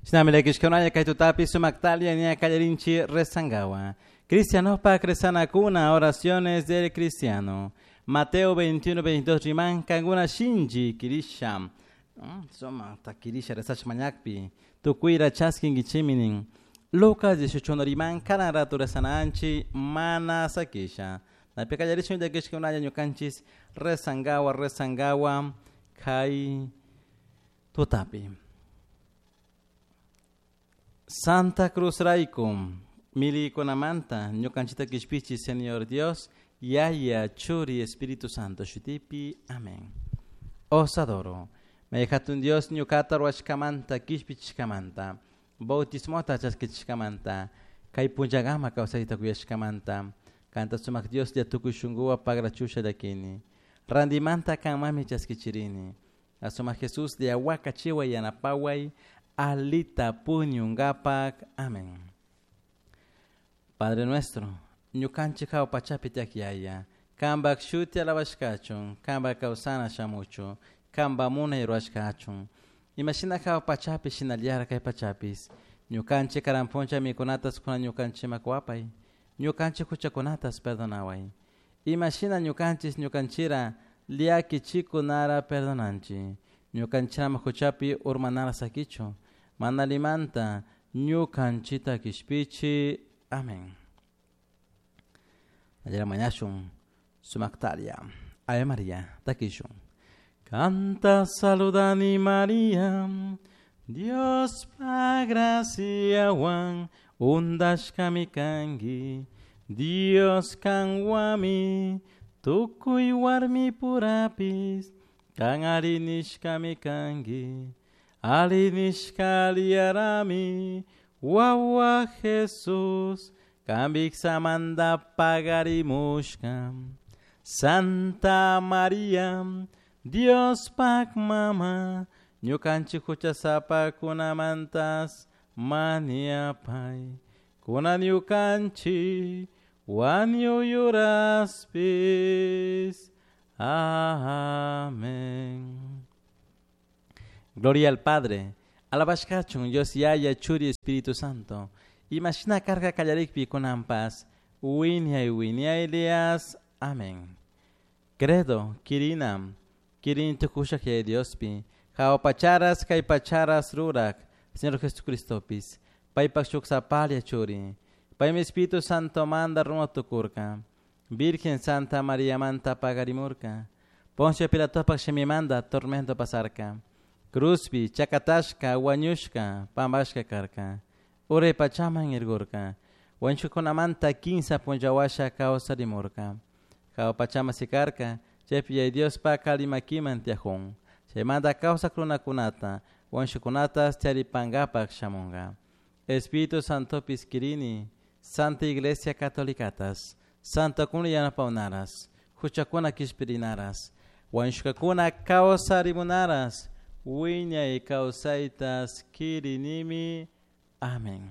Shinami llakishkunalla kay tutapi sumaktalia ña kallarinchi rezangawa. Cristianopak rezanakuna, oraciones del cristiano. Mateo 21, 22 riman kankuna shinchi kirisha. Suma kirisha rezash mañakpi. Tukuyra chaskinkichimi nin. Lucas 18 riman kanan rato rezananchi mana sakisha. Napi kallarishun llakishkunalla ñukanchis rezangawa rezangawa kay tutapi. Santa Cruz rayku milikunamanta ñukanchita kishpichi Señor Dios, Yaya, Churi, Espíritu Santo shutipi. Amén. Os adoro. May hatun Dios ñukata ruwashkamanta kishpichishkamanta, bautismota chaskichishkamanta, kay punllakama kawsayta kuyashkamanta, kanta sumak Dios lla tukuy shunkuwa pagrachusha llakini. Randimanta kanmami chaskichirini. Asumak Jesús lla wakachiway yanapaway, alita puñungapak. Amén. Padre nuestro, ñukanchik hawa pachapi tiyak Yaya, kanpak shuti alabashkachun, kanpak kawsana shamuchun, kanpak munay rurashkachun. Imashina hawa pachapi shinallara kay pachapis, ñukanchik karan puncha mikunatas kuna ñukanchikman kuwapay, ñukanchik huchakunatas perdonaway. Imashina ñukanchis ñukanchira llakichikunara perdonanchik. Ñukanchirama huchapi urmanara sakichu, mana allimanta ñukanchita kishpichi. Amén. Allá mañashun sumaktalia. Ave María, takishun. Canta saludani María, Dios pa graciawan undashkami kanki, Dios kanwami tukuy warmi purapis, kan ari nishkami kanki, ali nishka aliyarami, wawa Jesús, kambiksamanta pagarimushka. Santa María, Dios pak mama, ñukanchik huchasapakunamantas mañapay, kunan ñukanchik wañuy uraspis. Amén. Gloria al Padre, alabashkachun Dios Yaya, Churi, Espíritu Santo. Imashina karka kallarikpi kunanpas, wiñay wiñaylias. Amén. Credo, kirinam, kirin tukushak Yaya Diospi, hawa pacharas kay pacharas rurak, Señor Jesucristopis, paypak shuk sapalla churi, paymi Espíritu Santo manda runa tukurka, Virgen Santa María manta pagarimurka, Poncio Pilatopak shimimanta tormento pasarka, cruzpi chakatashka wañushka pampashka karka, uray pachaman irgurka, wañushkakunamanta kinsa punllawasha kawsarimurka, hawa pachaman sikarka, chaypi Yaya Diospak alli makiman tiyajun, chaymanta kawsak runakunata, wañushkakunatas charipankapak shamunka. Espíritu Santopis kirini, Santa Iglesia Catolicatas, Santokuna yanapawnaras, huchakuna kishpirinaras, wañushkakuna kawsarimunaras, wiñay kawsaytas kirinimi. Amén.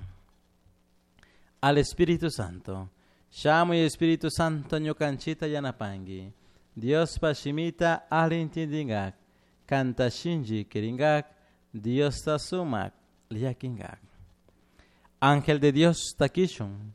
Al Espíritu Santo. Shamuy Espíritu Santo ñukanchita yanapanki. Diospa shimita alli intindingak, kanta shinchi kiringak, Diosta sumak llakinkak. Ángel de Dios takishun.